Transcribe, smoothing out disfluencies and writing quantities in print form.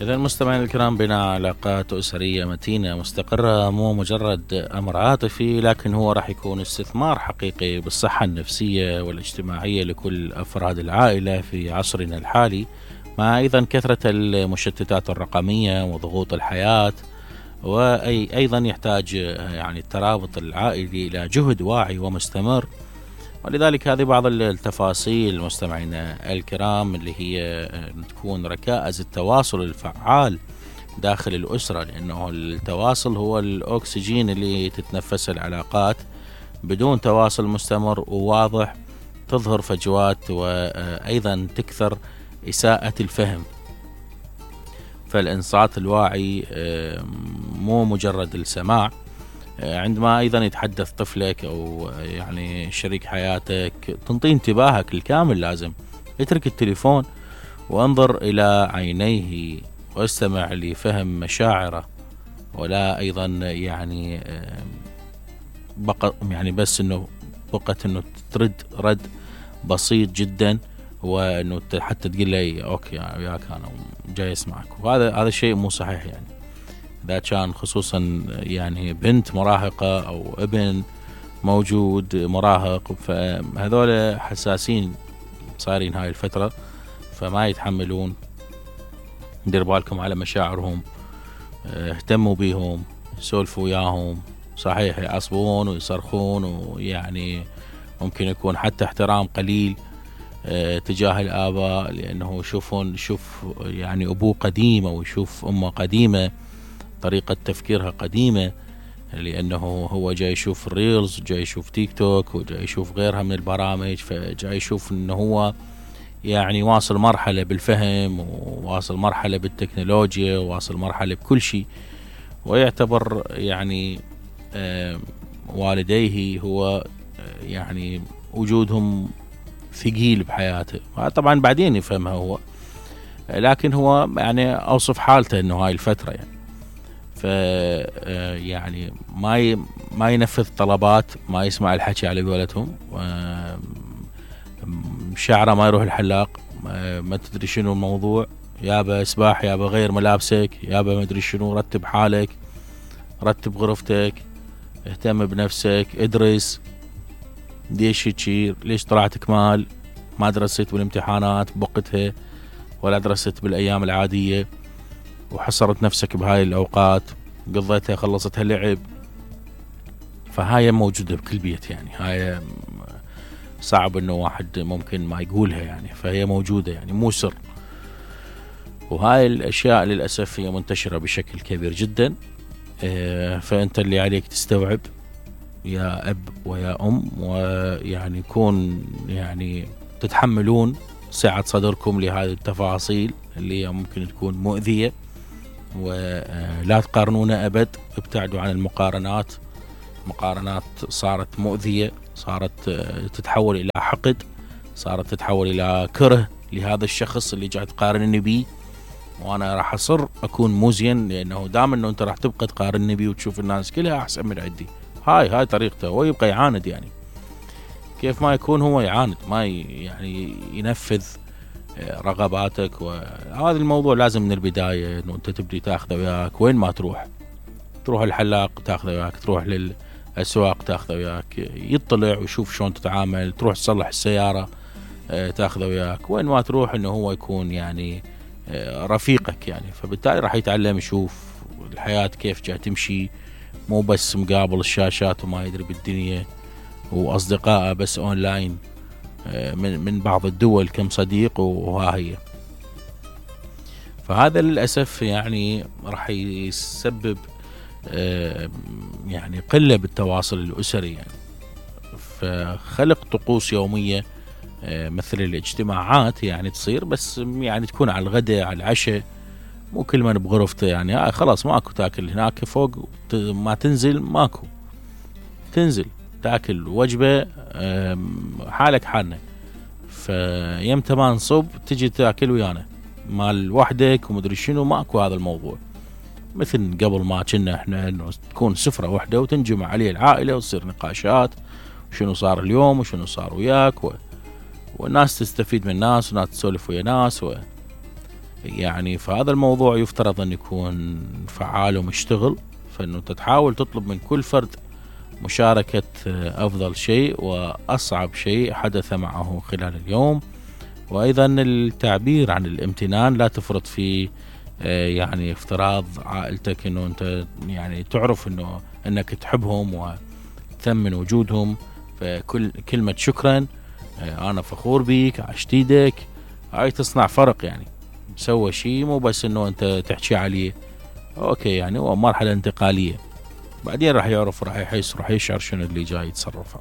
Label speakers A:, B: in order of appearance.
A: إذا المستمعين الكرام، بناء علاقات أسرية متينة مستقرة مو مجرد أمر عاطفي، لكن هو راح يكون استثمار حقيقي بالصحة النفسية والاجتماعية لكل أفراد العائلة في عصرنا الحالي، مع أيضا كثرة المشتتات الرقمية وضغوط الحياة. وأيضا يحتاج يعني الترابط العائلي إلى جهد واعي ومستمر. ولذلك هذه بعض التفاصيل مستمعينا الكرام اللي هي تكون ركائز التواصل الفعال داخل الأسرة، لأنه التواصل هو الأكسجين اللي تتنفس العلاقات. بدون تواصل مستمر وواضح تظهر فجوات، وأيضا تكثر إساءة الفهم. فالإنصات الواعي مو مجرد السماع. عندما أيضا يتحدث طفلك أو يعني شريك حياتك، تنطيه انتباهك الكامل. لازم اترك التليفون وانظر إلى عينيه واستمع لفهم مشاعره، ولا أيضا يعني بس إنه فقط إنه ترد رد بسيط جدا، وإنه حتى تقول لي أوكي وياك أنا جاي أسمعك. وهذا الشيء مو صحيح. يعني إذا كان خصوصا يعني بنت مراهقة أو ابن موجود مراهق، فهذول حساسين صارين هاي الفترة، فما يتحملون. دير بالكم على مشاعرهم، اهتموا بيهم، سولفوا وياهم. صحيح يعصبون ويصرخون، ويعني ممكن يكون حتى احترام قليل تجاه الآباء، لأنه شوف يعني أبوه قديم أو يشوف أمه قديمة، طريقة تفكيرها قديمة، لأنه هو جاي يشوف الريلز، جاي يشوف تيك توك، وجاي يشوف غيرها من البرامج، فجاي يشوف أنه هو يعني واصل مرحلة بالفهم، وواصل مرحلة بالتكنولوجيا، وواصل مرحلة بكل شيء. ويعتبر يعني والديه هو يعني وجودهم ثقيل بحياته. طبعا بعدين يفهمها هو، لكن هو يعني أوصف حالته أنه هاي الفترة يعني يعني ما ينفذ طلبات، ما يسمع الحكي على قولتهم، شعره ما يروح الحلاق، ما تدري شنو الموضوع، يابا اسباح، يابا غير ملابسك، يابا ما ادري شنو، رتب حالك، رتب غرفتك، اهتم بنفسك، ادرس. ليش هيك؟ ليش طلعت كمال؟ ما درست بالامتحانات بوقتها، ولا درست بالايام العادية، وحصرت نفسك بهاي الأوقات، قضيتها خلصتها لعب. فهاي موجودة بكل بيت، يعني هاي صعب انه واحد ممكن ما يقولها يعني، فهي موجودة يعني مو سر. وهاي الأشياء للأسف هي منتشرة بشكل كبير جدا. فأنت اللي عليك تستوعب يا أب ويا أم، ويعني يكون يعني تتحملون سعة صدركم لهذه التفاصيل اللي هي ممكن تكون مؤذية. ولا تقارنون أبد، ابتعدوا عن المقارنات. مقارنات صارت مؤذية، صارت تتحول إلى حقد، صارت تتحول إلى كره لهذا الشخص اللي جاي تقارنني بيه، وأنا راح أصر أكون مزين، لأنه دام أنه أنت راح تبقى تقارنني بيه وتشوف الناس كلها أحسن من عندي. هاي طريقته، ويبقى يعاند. يعني كيف ما يكون هو يعاند، ما يعني ينفذ رغباتك. وهذا الموضوع لازم من البداية انه انت تبدي تاخذه وياك وين ما تروح الحلاق تاخذه وياك، تروح للأسواق تاخذه وياك، يطلع ويشوف شلون تتعامل، تروح تصلح السيارة تاخذه وياك، وين ما تروح انه هو يكون يعني رفيقك يعني. فبالتالي راح يتعلم يشوف الحياة كيف جاي تمشي، مو بس مقابل الشاشات وما يدري بالدنيا، وأصدقائه بس أونلاين من بعض الدول كم صديق وها هي. فهذا للأسف يعني راح يسبب يعني قلة بالتواصل الأسري يعني. فخلق طقوس يومية مثل الاجتماعات يعني تصير، بس يعني تكون على الغداء على العشاء، مو كل من بغرفته يعني خلاص ماكو تاكل هناك فوق، ما تنزل ماكو، تنزل تاكل وجبة حالك حالنا، فيمتى ما نصب تجي تاكل ويانا مال وحدك ومدري شنو. ماكو هذا الموضوع مثل قبل ما كنا احنا انه تكون سفرة وحدة وتنجمع عليه العائلة وتصير نقاشات وشنو صار اليوم وشنو صار وياك والناس تستفيد من الناس وناس تسولف ويا ناس يعني فهذا الموضوع يفترض أن يكون فعال ومشتغل، فإنه أنت تحاول تطلب من كل فرد مشاركة أفضل شيء وأصعب شيء حدث معه خلال اليوم. وأيضا التعبير عن الامتنان، لا تفرط في يعني افتراض عائلتك انه انت يعني تعرف انك تحبهم وتثمن وجودهم، فكل كلمة شكرا، انا فخور بيك، عشت ايدك، هاي تصنع فرق. يعني سوى شيء مو بس انه انت تحكي عليه، اوكي يعني هو مرحلة انتقالية، بعدين راح يعرف، راح يحس، راح يشعر شنو اللي جاي يتصرفه.